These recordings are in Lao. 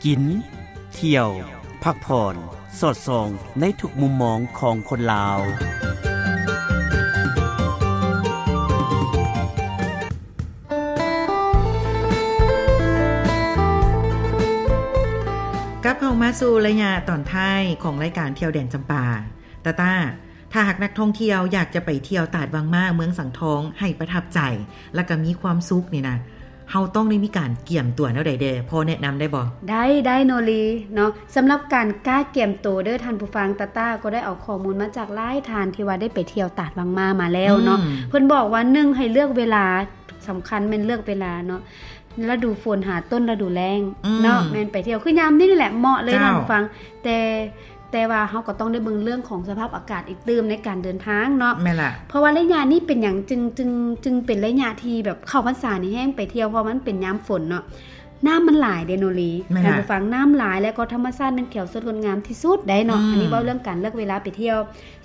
ກິນ, ທ່ຽວ, ພັກຜ່ອນ, ສອດສ່ອງໃນທຸກມຸມມອງຂອງຄົນລາວ. ກັບເຂົ້າມາສູ່ໄລຍະຕອນທ້າຍຂອງລາຍການທ່ຽວແດນຈຳປາ. ຕາຕາ, ຖ້າຫາກນັກທ່ອງທ່ຽວຢາກຈະໄປທ່ຽວຕາດວັງມ້າ ເມືອງສັງທອງ ໃຫ້ປະທັບໃຈ ແລ້ວກໍມີຄວາມສຸກນີ້ນະ, ເຮົາຕ້ອງໄດ້ມີການກຽມຕົວແນວໃດແດ່? ພໍແນະນຳໄດ້ບໍ່? ໄດ້ ໄດ້ໂນລີເນາະ. ສຳລັບການກະກຽມໂຕເດີທ່ານຜູ້ຟັງ, ຕາຕາກໍໄດ້ເອົາຂໍ້ມູນມາຈາກຫຼາຍທ່ານທີ່ວ່າໄດ້ໄປທ່ຽວຕາດວັງມ້າມາແລ້ວເນາະ. ອືມ. ເພິ່ນບອກວ່າ ໜຶ່ງ ໃຫ້ເລືອກເວລາ, ສຳຄັນແມ່ນເລືອກເວລາເນາະ. ລະດູຝົນຫາຕົ້ນລະດູແລ້ງ ອືມ ເນາະ, ແມ່ນໄປທ່ຽວ ຄືຍາມນີ້ນີ້ແຫຼະເໝາະເລີຍ ເຈົ້າ ທ່ານຜູ້ຟັງ. ແຕ່ ແຕ່ວ່າເຮົາກໍຕ້ອງໄດ້ເບິ່ງເລື່ອງຂອງສະພາບອາກາດອີກຕື່ມໃນການເດີນທາງເນາະ. ແມ່ນລະ. ເພາະວ່າໄລຍະນີ້ເປັນຫຍັງຈຶ່ງ ຈຶ່ງ ຈຶ່ງເປັນໄລຍະທີ່ແບບເຂົ້າພັນສານີ້ແຮງໄປທ່ຽວ? ເພາະວ່າມັນເປັນຍາມຝົນເນາະ, ນ້ຳມັນຫຼາຍເດໂນລີ. ແມ່ນລະ. ທ່ານຜູ້ຟັງ, ນ້ຳຫຼາຍ ແລ້ວກໍທຳມະຊາດແມ່ນຂຽວສົດງົດງາມທີ່ສຸດໄດ໋ເນາະ. ອືມ. ອັນນີ້ເວົ້າເລື່ອງການເລືອກເວລາໄປທ່ຽວ.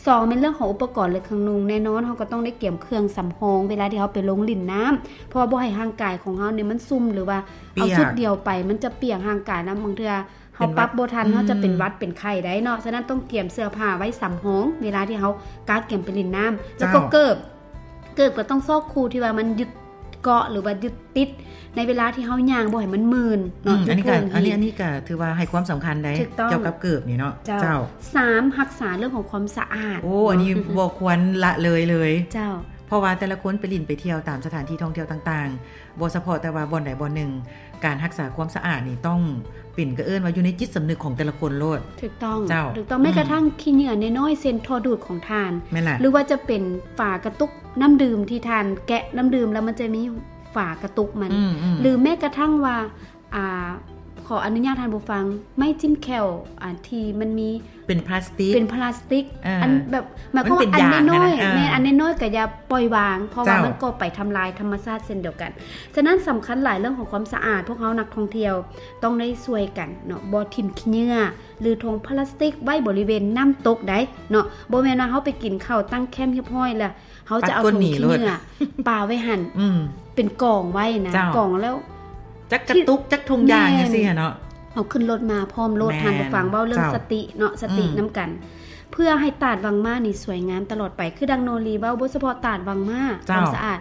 ສອງ ແມ່ນເລື່ອງຂອງອຸປະກອນ ແລະ ເຄື່ອງນຸ່ງ. ແນ່ນອນ ເຮົາກໍຕ້ອງໄດ້ກຽມເຄື່ອງສຳຮອງ ເວລາທີ່ເຮົາໄປລົງຫຼິ້ນນ້ຳ, ເພາະວ່າບໍ່ໃຫ້ຮ່າງກາຍຂອງເຮົານີ້ມັນຊຸ່ມ ຫຼືວ່າເອົາ ປຽກ ຊຸດດຽວໄປ ມັນຈະປຽກຮ່າງກາຍ ແລ້ວບາງເທື່ອເຮົາ ເປັນຫວັດ ປັບບໍ່ທັນ ອືມ ເຮົາຈະເປັນຫວັດເປັນໄຂ້ໄດ້ເນາະ. ສະນັ້ນຕ້ອງກຽມເສື້ອຜ້າໄວ້ສຳຮອງ ເວລາທີ່ເຮົາກະກຽມໄປຫຼິ້ນນ້ຳ. ແລ້ວກໍ ເຈົ້າ ເກີບ, ເກີບກໍຕ້ອງຊອກຄູ່ທີ່ວ່າມັນຍຶດເກາະ ຫຼືວ່າຍຶດຕິດ ໃນເວລາທີ່ເຮົາຍ່າງບໍ່ໃຫ້ມັນມື່ນເນາະ. ອືມ. ອັນນີ້ກໍ ອັນນີ້ ອັນນີ້ກໍຖືວ່າໃຫ້ຄວາມສຳຄັນໄດ໋ ຖືກຕ້ອງ ກ່ຽວກັບເກີບນີ້ເນາະ. ເຈົ້າ. ເຈົ້າ. ສາມ ຮັກສາເລື່ອງຂອງຄວາມສະອາດ. ໂອ້ ອັນນີ້ບໍ່ຄວນລະເລີຍເລີຍ. ເຈົ້າ. ເພາະວ່າແຕ່ລະຄົນໄປຫຼິ້ນໄປທ່ຽວຕາມສະຖານທີ່ທ່ອງທ່ຽວຕ່າງໆ, ບໍ່ສະເພາະແຕ່ວ່າບ່ອນໃດບ່ອນໜຶ່ງ, ການຮັກສາຄວາມສະອາດນີ້ຕ້ອງເປັນ ກໍເອີ້ນວ່າຢູ່ໃນຈິດສຳນຶກຂອງແຕ່ລະຄົນໂລດ. ຖືກຕ້ອງ. ເຈົ້າ. ຖືກຕ້ອງ. ອືມ. ແມ້ກະທັ່ງຂີ້ເຫຍື້ອນ້ອຍໆ ເຊັ່ນ ທໍ່ດູດຂອງທ່ານ. ແມ່ນລະ. ຫຼືວ່າຈະເປັນຝາກະຕຸກນ້ຳດື່ມ ທີ່ທ່ານແກະນ້ຳດື່ມແລ້ວມັນຈະມີຝາກະຕຸກມັນ. ອືມໆ. ຫຼືແມ້ກະທັ່ງວ່າ ອ່າ ຂໍອະນຸຍາດທ່ານຜູ້ຟັງ, ໄມ້ຈິ້ມແຂ້ວ ອ່າ ທີ່ມັນມີ ເປັນພລາສຕິກ ເປັນພລາສຕິກ. ເອີ ອັນແບບ ໝາຍຄວາມວ່າ ມັນເປັນຢາງ ອັນນ້ອຍໆ ຫັ້ນນະ. ເອີ ແມ່ນ ອັນນ້ອຍໆ ກໍຢ່າປ່ອຍວາງ ເພາະວ່າ ເຈົ້າ ມັນກໍໄປທຳລາຍທຳມະຊາດເຊັ່ນດຽວກັນ. ສະນັ້ນສຳຄັນຫຼາຍເລື່ອງຂອງຄວາມສະອາດ, ພວກເຮົານັກທ່ອງທ່ຽວຕ້ອງໄດ້ຊ່ວຍກັນເນາະ, ບໍ່ຖິ້ມຂີ້ເຫຍື້ອ ຫຼື ຖົງພລາສຕິກໄວ້ບໍລິເວນນ້ຳຕົກໃດ໋ເນາະ. ບໍ່ແມ່ນວ່າເຮົາໄປກິນເຂົ້າຕັ້ງແຄ້ມຮຽບຮ້ອຍແລ້ວ ເຮົາຈະເອົາຖົງຂີ້ເຫຍື້ອປາໄວ້ຫັ້ນ ອືມ ເປັນກອງໄວ້ນະ. ເຈົ້າ. ກອງແລ້ວ ຈັກກະຕຸກ ຈັກຖົງຢາງ ແມ່ນ ຈັ່ງຊີ້ຫັ້ນເນາະ. ເອົາຂຶ້ນລົດມາພ້ອມໂລດ. ແມ່ນ. ທ່ານຜູ້ຟັງ ເວົ້າເລື່ອງ ເຈົ້າ ສະຕິເນາະ, ສະຕິ ອືມ ນຳກັນ ເພື່ອໃຫ້ຕາດວັງມ້ານີ້ສວຍງາມຕະຫຼອດໄປ. ຄືດັ່ງໂນລີເວົ້າ, ບໍ່ສະເພາະຕາດວັງມ້າ ເຈົ້າ ຄວາມສະອາດ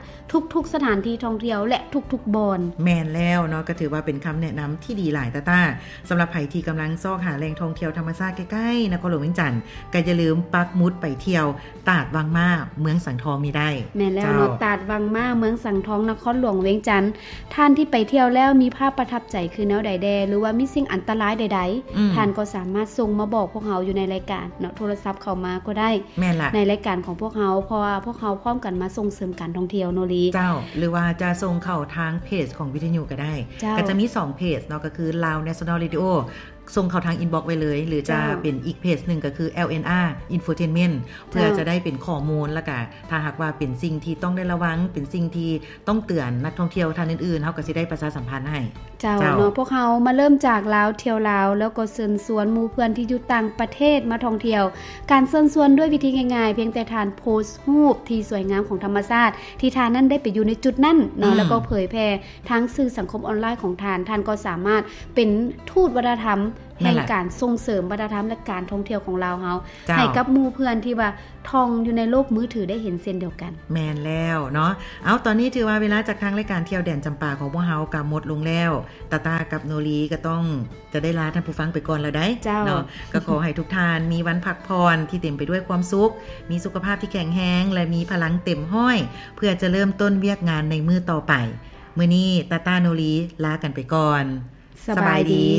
ທຸກໆ ສະຖານທີ່ທ່ອງທ່ຽວ ແລະ ທຸກໆ ບ່ອນ. ແມ່ນແລ້ວເນາະ, ກໍຖືວ່າເປັນຄຳແນະນຳທີ່ດີຫຼາຍຕາຕາ. ສຳລັບໃຜທີ່ກຳລັງຊອກຫາແຫຼ່ງທ່ອງທ່ຽວທຳມະຊາດໃກ້ໆ ນະຄອນຫຼວງວຽງຈັນ, ກໍຢ່າລືມປັກໝຸດໄປທ່ຽວ ຕາດວັງມ້າ ເມືອງສັງທອງນີ້ໄດ້. ແມ່ນແລ້ວເນາະ. ເຈົ້າ. ຕາດວັງມ້າ ເມືອງສັງທອງ ນະຄອນຫຼວງວຽງຈັນ. ທ່ານທີ່ໄປທ່ຽວແລ້ວມີພາບປະທັບໃຈຄືແນວໃດແດ່ ຫຼືວ່າມີສິ່ງອັນຕະລາຍໃດໆ ອືມ ທ່ານກໍສາມາດສົ່ງມາບອກພວກເຮົາຢູ່ໃນລາຍການເນາະ, ໂທລະສັບເຂົ້າມາກໍໄດ້. ແມ່ນລະ. ໃນລາຍການຂອງພວກເຮົາ, ເພາະວ່າພວກເຮົາພ້ອມກັນມາສົ່ງເສີມການທ່ອງທ່ຽວເນາະລີ. ເຈົ້າ. ຫຼືວ່າຈະສົ່ງເຂົ້າທາງເພຈຂອງວິທະຍຸກໍໄດ້. ເຈົ້າ. ກໍຈະມີສອງເພຈເນາະ, ກໍຄື Lao National Radio ສົ່ງເຂົ້າທາງອິນບັອກໄວ້ເລີຍ ຫຼືຈະ ເຈົ້າ ເປັນອີກເພຈໜຶ່ງກໍຄື LNR Infotainment ເພື່ອ ເຈົ້າ ຈະໄດ້ເປັນຂໍ້ມູນ ແລ້ວກະຖ້າຫາກວ່າເປັນສິ່ງທີ່ຕ້ອງໄດ້ລະວັງ ເປັນສິ່ງທີ່ຕ້ອງເຕືອນນັກທ່ອງທ່ຽວທ່ານອື່ນໆ ເຮົາກໍຊິໄດ້ປະຊາສຳພັນໃຫ້. ເຈົ້າ ເຈົ້າ ເນາະ. ພວກເຮົາມາເລີ່ມຈາກລາວທ່ຽວລາວ ແລ້ວກໍເຊີນຊວນໝູ່ເພື່ອນທີ່ຢູ່ຕ່າງປະເທດມາທ່ອງທ່ຽວ. ການເຊີນຊວນດ້ວຍວິທີງ່າຍໆ ພຽງແຕ່ທ່ານໂພສຮູບທີ່ສວຍງາມຂອງທຳມະຊາດ ທີ່ທ່ານນັ້ນໄດ້ໄປຢູ່ໃນຈຸດນັ້ນເນາະ ອືມ ແລ້ວກໍເຜີຍແຜ່ ທາງສື່ສັງຄົມອອນລາຍຂອງທ່ານ, ທ່ານກໍສາມາດເປັນທູດວັດທະນະທຳ ແມ່ນລະ ແຫ່ງການສົ່ງເສີມວັດທະນະທຳ ແລະ ການທ່ອງທ່ຽວຂອງລາວເຮົາ ເຈົ້າ ໃຫ້ກັບໝູ່ເພື່ອນທີ່ວ່າທ່ອງຢູ່ໃນໂລກມືຖືໄດ້ເຫັນເຊັ່ນດຽວກັນ. ແມ່ນແລ້ວເນາະ. ເອົາ, ຕອນນີ້ຖືວ່າເວລາຈາກທາງລາຍການທ່ຽວແດນຈຳປາຂອງພວກເຮົາກໍໝົດລົງແລ້ວ. ຕາຕາກັບໂນລີກໍຕ້ອງຈະໄດ້ລາທ່ານຜູ້ຟັງໄປກ່ອນແລ້ວໃດ໋ ເຈົ້າ ເນາະ. ກໍຂໍໃຫ້ທຸກທ່ານມີວັນພັກຜ່ອນທີ່ເຕັມໄປດ້ວຍຄວາມສຸກ, ມີສຸຂະພາບທີ່ແຂງແຮງ ແລະ ມີພະລັງເຕັມຮ້ອຍ ເພື່ອຈະເລີ່ມຕົ້ນວຽກງານໃນມື້ຕໍ່ໄປ. ມື້ນີ້ຕາຕາ ໂນລີ ລາກັນໄປກ່ອນ. ສະບາຍດີ.